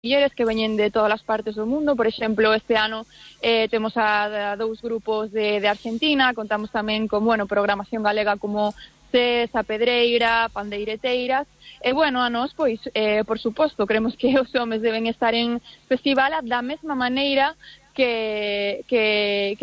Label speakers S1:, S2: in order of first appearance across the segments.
S1: mulleres que veñen de todas as partes do mundo. Por exemplo, este ano temos a dous grupos de Argentina, contamos tamén con, programación galega como CES, a Pedreira, Pandeireteiras, e, a nós, pois, por suposto, creemos que os homes deben estar en festival da mesma maneira que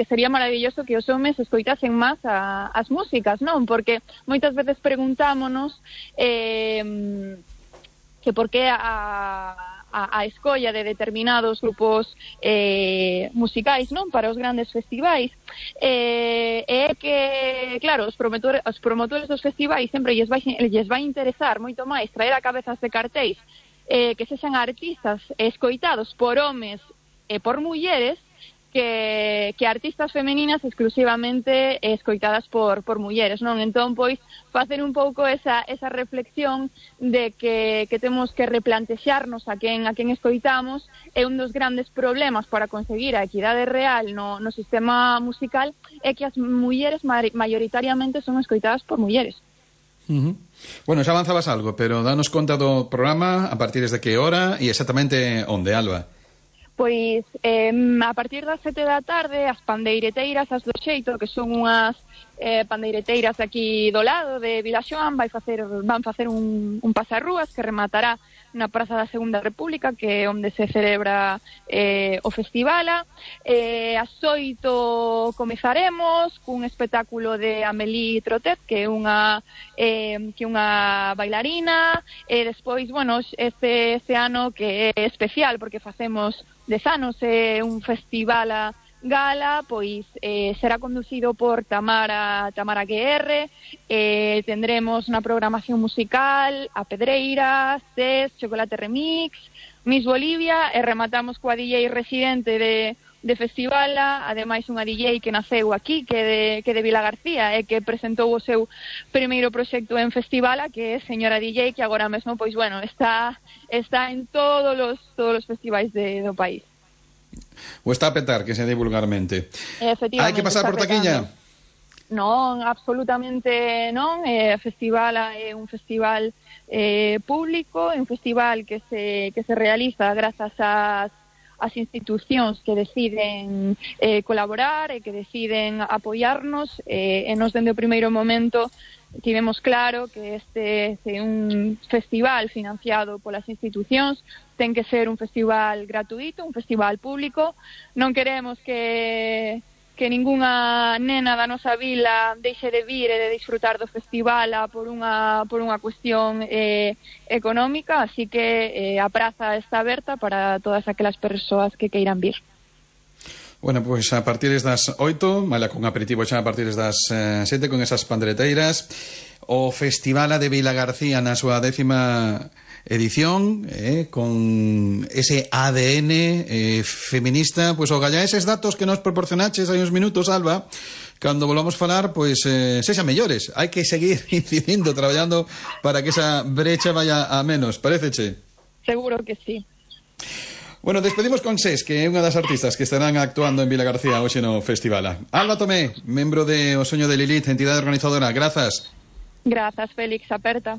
S1: sería maravilloso que os homes escoitasen máis as músicas, non? Porque moitas veces preguntámonos que por que a escolla de determinados grupos musicais, non, para os grandes festivais, é que, claro, os promotores dos festivais sempre lles vai interesar moito máis traer a cabezas de cartéis que sexan artistas escoitados por homes e por mulleres que artistas femeninas exclusivamente escoitadas por mulleres, non? Entón, pois, facer un pouco esa reflexión de que temos que replantexarnos a quen escoitamos é un dos grandes problemas para conseguir a equidade real no sistema musical, é que as mulleres maioritariamente son escoitadas por mulleres.
S2: Bueno, xa avanzabas algo, pero danos conta do programa, a partir de que hora e exactamente onde, Alba?
S1: Pois a partir das 7 da tarde as pandeireteiras, as do Xeito, que son unhas pandeireteiras aquí do lado de Vilaxoán, van facer un pasarrúas que rematará na Praza da Segunda República, que é onde se celebra o festivala. As 8 comezaremos cun espectáculo de Amélie Trotet, que é unha bailarina, e despois, este ano que é especial porque facemos 10 anos, é un festival gala, pois será conducido por Tamara GR, tendremos na programación musical a Pedreira, CES, Chocolate Remix, Miss Bolivia, e rematamos coa DJ residente de festivala, ademais unha DJ que naceu aquí, que de Vilagarcía, e que presentou o seu primeiro proxecto en festivala, que é Señora DJ, que agora mesmo, pois, está en todos os festivais do país.
S2: O está a petar, que se di vulgarmente. Hai que pasar por taquilla?
S1: Non, absolutamente non. O festival é un festival público, é un festival que se realiza grazas ás institucións que deciden colaborar e que deciden apoiarnos, e nos dende o primeiro momento tivemos claro que este é un festival financiado polas institucións, ten que ser un festival gratuito, un festival público. Non queremos que ningunha nena da nosa vila deixe de vir e de disfrutar do festival por unha cuestión económica, así que a praza está aberta para todas aquelas persoas que queiran vir.
S2: Bueno, pois a partir das 8, mala con aperitivo xa a partir das 7 con esas pandeireteiras, o Festival de Vilagarcía na súa 10ª edición, con ese ADN feminista. Pois o galla eses datos que nos proporcionaches hai uns minutos, Alba, cando volvamos falar, pois sexan mellores. Hai que seguir incidindo, traballando para que esa brecha vaya a menos, paréceche?
S1: Seguro que sí.
S2: Bueno, despedimos con SES, que é unha das artistas que estarán actuando en Vilagarcía hoxe no festival. Alba Tomé, membro de O Soño de Lilith, entidade organizadora. Grazas.
S1: Grazas, Félix, aperta.